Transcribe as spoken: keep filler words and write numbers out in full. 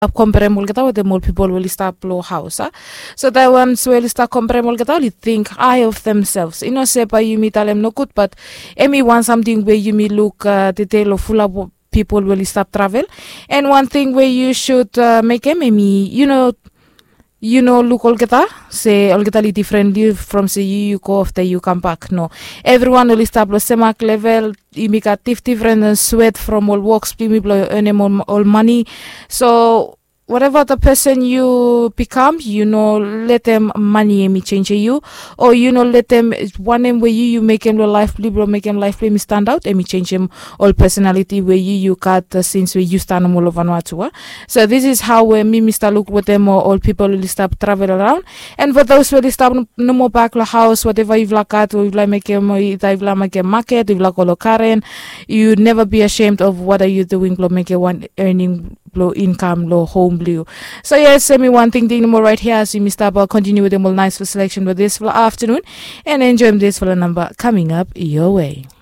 stap komperem olgeta wetem ol pipol we oli stap long haus a. So the ones we oli stap komperem olgeta oli think high of themselves, i no se bae yumi talem nogud, bat em i wan samting we yumi luk tede long fulap pipol we oli stap travel. And wan ting we yu sud mekem em i yu no yu no luk olgeta se olgeta oli difrenli from se yu yu go afta yu kambak. No, evriwan oli stap long semak level. Yumi gat difdifren swet from ol woks blong yumi blong enem ol mani. So wateva the pesen yu bikam, yu no letem mani em i senjem yu, o yu no letem wanem we yu yu mekem long laef blong yu blong mekem laef blong yumi standaot em i senjem ol pesonaliti we yu yu gat sins we yu stap nomo long vanua tu a. So this is hao we mi mi stap luk wetem ol pipol oli stap travel araon. And fo those we oli stap nomo bak long haos, wateva yufala gat o yufala mekem o ita yufala mekem maket o yufala go long karen, yu neva bi ashemed of wata yu duing blong mekem wan earning blong inkam long hom blong yu. So yes, em i wan tingting nomo rait hia as yumi stap kontiniu wetem ol naisfala seleksen blong disfala aftanun, and enjoem disfala namba kaming ap yowe.